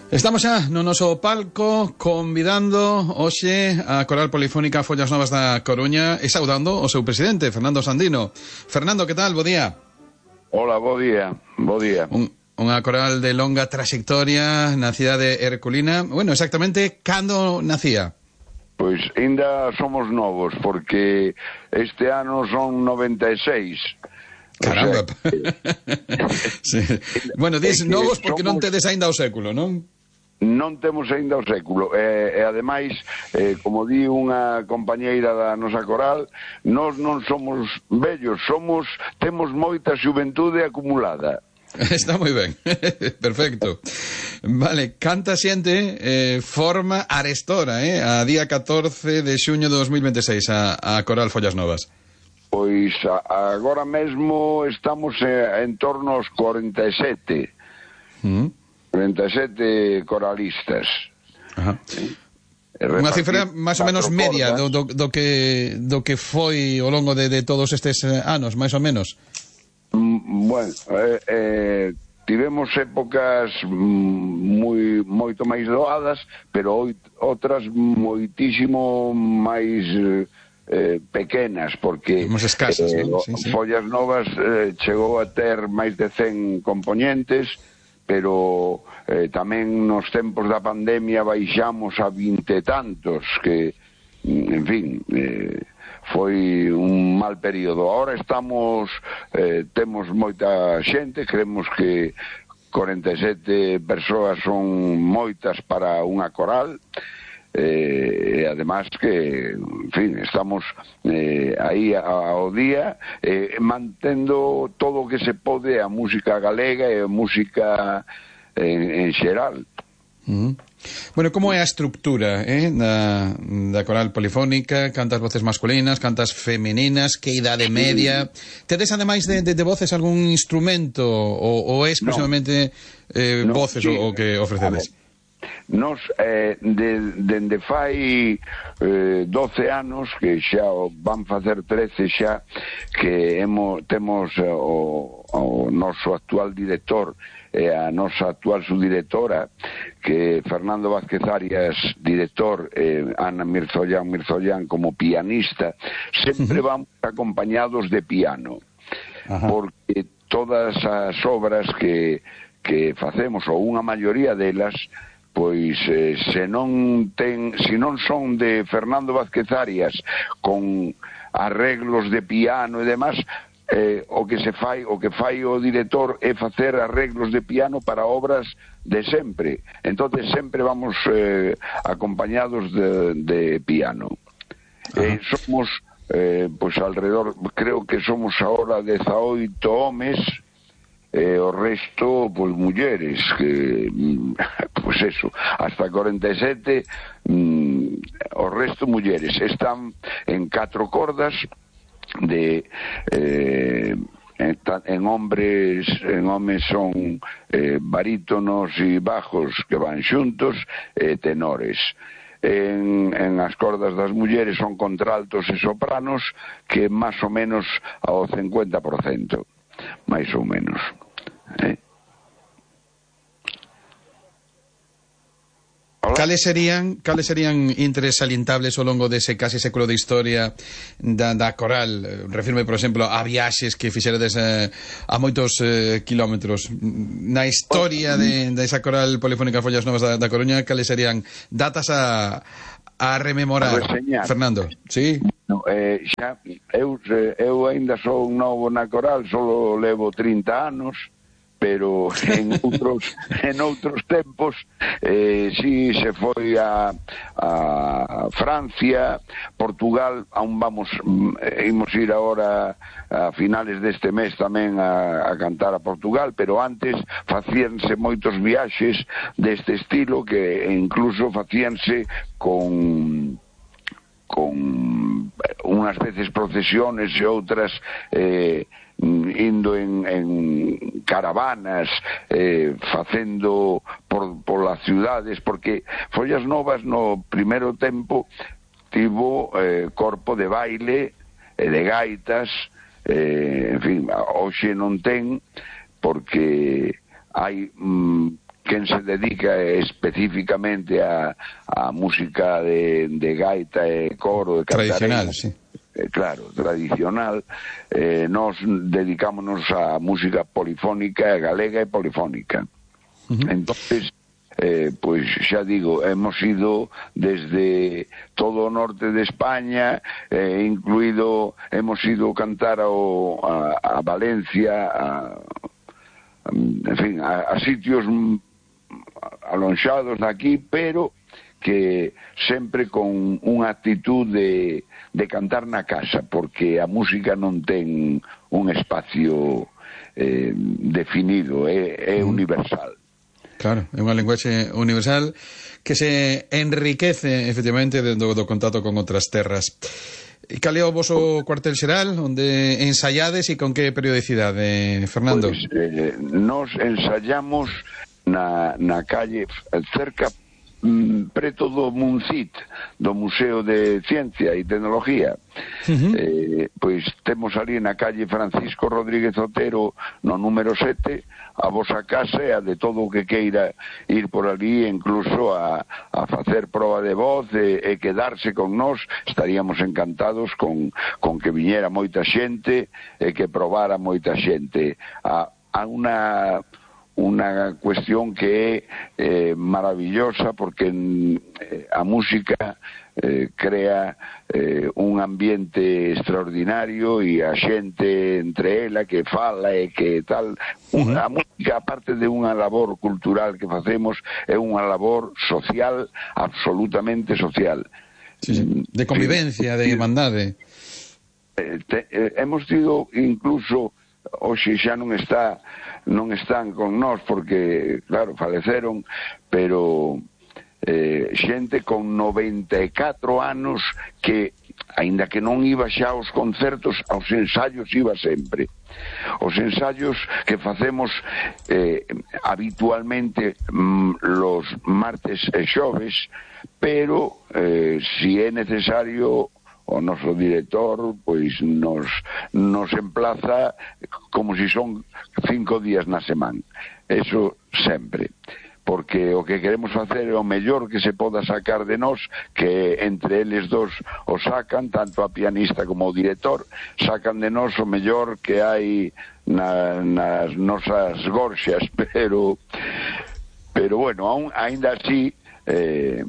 Estamos xa no noso palco convidando hoxe a Coral Polifónica Follas Novas da Coruña e saudando o seu presidente, Fernando Sandino. Fernando, que tal? Bo día. Hola, bo día. Unha coral de longa trayectoria na cidade herculina. Bueno, exactamente, cando nacía? Pois ainda somos novos, porque este ano son 96. Caramba. O sea, sí. Bueno, dis novos porque non tedes aínda o século, non? Non temos aínda o século e ademais, como di unha compañeira da nosa coral, nós non somos vellos, temos moita xuventude acumulada. Está moi ben, perfecto. Vale, canta xente forma arestora, a día 14 de xuño de 2026 a Coral Follas Novas? Pois agora mesmo estamos en torno aos 47 coralistas. Ajá. Unha cifra máis ou menos media do que foi ao longo de todos estes anos, máis ou menos. Bueno, tivemos épocas moito máis doadas, pero outras moitísimo máis pequenas, porque escasas, ¿no? Sí. Follas Novas chegou a ter máis de 100 componentes, pero tamén nos tempos da pandemia baixamos a 20 e tantos, que, en fin, foi un mal período. Ahora temos moita xente, creemos que 47 persoas son moitas para unha coral, e además que, en fin, estamos aí ao día, mantendo todo o que se pode a música galega e a música en xeral. Bueno, como é a estructura da coral polifónica? Cantas voces masculinas, cantas femininas, que idade media? Tedes, ademais de voces, algún instrumento ou é exclusivamente voces o que ofrecedes? Nos, dende fai 12 anos, que xa van facer 13 xa, que temos o noso actual director e a nosa actual subdirectora, que Fernando Vázquez Arias, director, Ana Mirzollán como pianista, sempre vamos acompañados de piano. Ajá. Porque todas as obras que facemos, ou unha maioría delas, pois se non son de Fernando Vázquez Arias con arreglos de piano e demás, o que fai o director é facer arreglos de piano para obras de sempre. Entonces sempre vamos acompañados de piano. Somos pois alrededor, creo que somos ahora 18 homes, o resto, pois, mulleres, que, pois eso, hasta 47, o resto mulleres. Están en 4 cordas en homes son barítonos e bajos que van xuntos, tenores. En as cordas das mulleres son contraltos e sopranos, que máis ou menos ao 50%, máis ou menos. Cales serían interesalientables ao longo dese casi século de historia da coral? Refirme, por exemplo, a viaxes que fixeredes a moitos kilómetros. Na historia desa coral polifónica Follas Novas da Coruña, cales serían datas a rememorar, Fernando? Sí? No, xa, eu ainda sou novo na coral, só levo 30 anos, pero en outros tempos si se foi a Francia, Portugal, aún imos ir agora a finales deste mes tamén a cantar a Portugal, pero antes facíanse moitos viaxes deste estilo, que incluso facíanse con unhas veces procesiones e outras indo en caravanas, facendo por las ciudades, porque Follas Novas no primeiro tempo tivo corpo de baile e de gaitas, en fin, hoxe non ten, porque hai quen se dedica especificamente a música de gaita e coro, de tradicional, cantareira, sí. Claro, tradicional, nós dedicámonos a música polifónica, galega e polifónica. Entonces, pois xa digo, hemos ido desde todo o norte de España, incluído, hemos ido cantar a Valencia, en fin, a sitios alonxados daqui, pero que sempre con unha actitud de cantar na casa, porque a música non ten un espacio definido, é universal. Claro, é unha linguaxe universal que se enriquece efectivamente do contacto con outras terras. E cal é o voso cuartel xeral, onde ensaiades e con que periodicidade, Fernando? Pois, nos ensayamos na calle cerca, preto do Muncit, do Museo de Ciencia e Tecnología. Pois temos ali na calle Francisco Rodríguez Otero, no número 7, a vosa casa e a de todo o que queira ir por ali, incluso a facer proba de voz e quedarse con nós. Estaríamos encantados con que viñera moita xente e que probara moita xente. A unha cuestión que é maravillosa, porque a música crea un ambiente extraordinario e a xente entre ela que fala e que tal. A música, aparte de unha labor cultural que facemos, é unha labor social, absolutamente social. Sí, de convivencia, de irmandade. Hemos tido incluso, hoxe xa non están con nós porque, claro, faleceron, pero xente con 94 anos que, aínda que non iba xa aos concertos, aos ensaios iba sempre. Os ensaios que facemos habitualmente los martes e xoves, pero si é necesario, o noso director pois nos emplaza como si son 5 días na semana. Eso sempre, porque o que queremos facer é o mellor que se poda sacar de nós, que entre eles dos o sacan, tanto a pianista como o director, sacan de nós o mellor que hai nas nosas gorxas, pero bueno, aínda así, en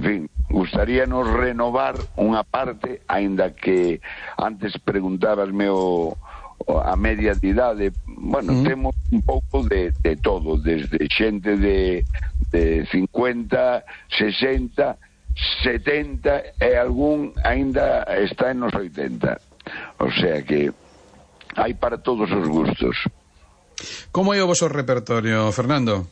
fin, gustaríanos renovar unha parte, aínda que antes preguntabasme a media de idade. Bueno, temos un pouco de todo, desde xente de 50, 60, 70 e algún aínda está en nos 80. O sea que hai para todos os gustos. Como é o voso repertorio, Fernando?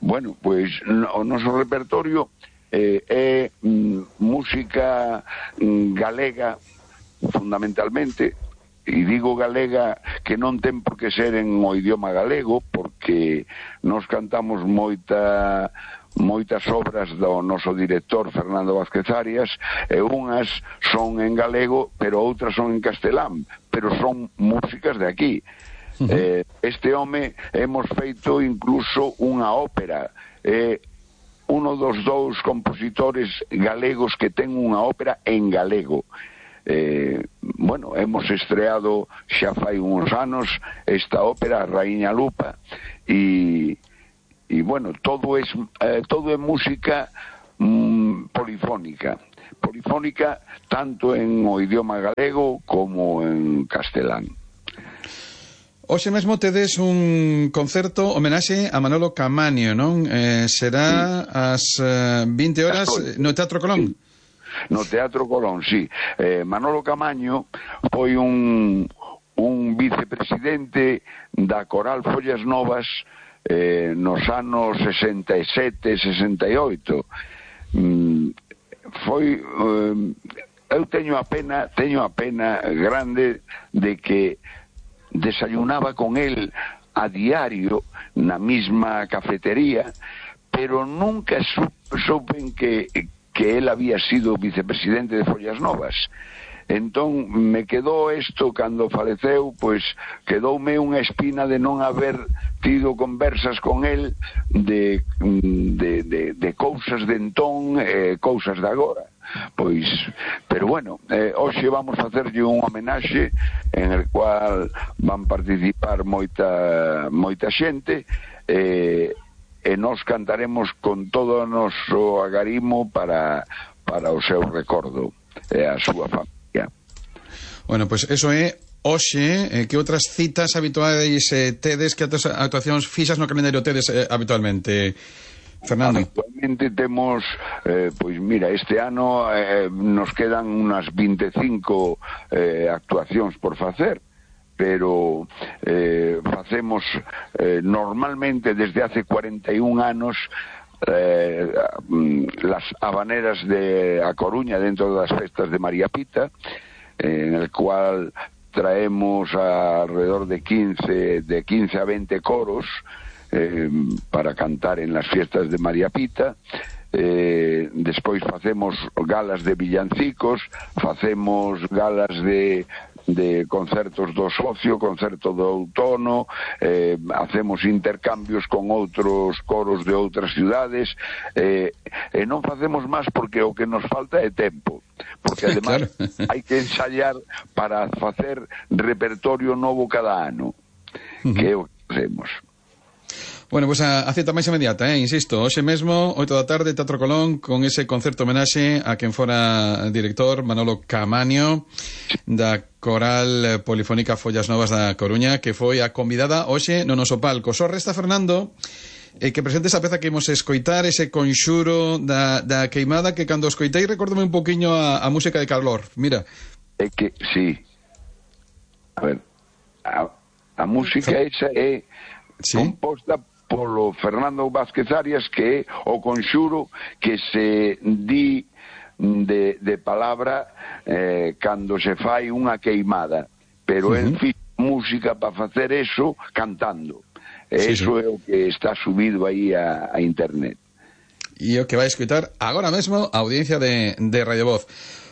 Bueno, pois o noso repertorio é música galega, fundamentalmente, e digo galega que non ten por que ser en o idioma galego, porque nos cantamos moitas obras do noso director Fernando Vázquez Arias, e unhas son en galego, pero outras son en castelán, pero son músicas de aquí. Este home hemos feito incluso unha ópera, uno dos dous compositores galegos que ten unha ópera en galego. Bueno, hemos estreado xa fai uns anos esta ópera, Raíña Lupa, e bueno, todo é música polifónica tanto en o idioma galego como en castelán. Hoxe mesmo tedes un concerto homenaxe a Manolo Camaño, non? Será ás 20 horas no Teatro Colón. Sí. No Teatro Colón, sí. Manolo Camaño foi un vicepresidente da Coral Follas Novas nos anos 67, 68. Foi... eu teño a pena grande de que desayunaba con él a diario na misma cafetería, pero nunca supen que él había sido vicepresidente de Follas Novas. Entón me quedou isto cando faleceu, pois quedoume unha espina de non haber tido conversas con el de cousas de entón, cousas de agora. Pois, pero bueno, hoxe vamos facerlle un homenaxe en el cual van participar moita xente, e nós cantaremos con todo o noso agarimo para o seu recordo e a súa familia. Bueno, pois eso é hoxe. Que outras citas habituais tedes, que outras actuacións fixas no calendario tedes habitualmente, Fernando? Habitualmente temos, pois mira, este ano nos quedan unas 25 actuacións por facer, pero facemos normalmente desde hace 41 anos las habaneras de A Coruña dentro das festas de María Pita, en el cual traemos alrededor de 15 a 20 coros para cantar en las fiestas de María Pita. Despois facemos galas de villancicos, facemos galas de concertos do socio, concerto do outono, hacemos intercambios con outros coros de outras cidades, e non facemos máis porque o que nos falta é tempo, porque ademais claro, hai que ensayar para facer repertorio novo cada ano, que é o que facemos. Bueno, pois a cita máis inmediata, insisto, hoxe mesmo, 8 da tarde, Teatro Colón, con ese concerto homenaxe a quen fora director, Manolo Caamaño, da Coral Polifónica Follas Novas da Coruña, que foi a convidada hoxe no noso palco. Só resta, Fernando, que presente esa peza que imos escoitar, ese conxuro da queimada, que cando escoitei recórdome un poquinho a música de Calor. Mira. É que, sí. A ver, a música esa é composta polo Fernando Vázquez Arias, que é o conxuro que se di de palabra cando se fai unha queimada, pero el fixo música para facer eso cantando. Eso é o que está subido aí a internet. E o que vai escutar agora mesmo a audiencia de Radio Voz.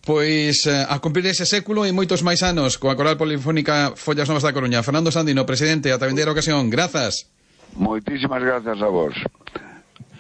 Pois a cumprir ese século e moitos máis anos coa Coral Polifónica Follas Novas da Coruña. Fernando Sandino, presidente, ata vindeira ocasión. Grazas. Moitísimas grazas a vos.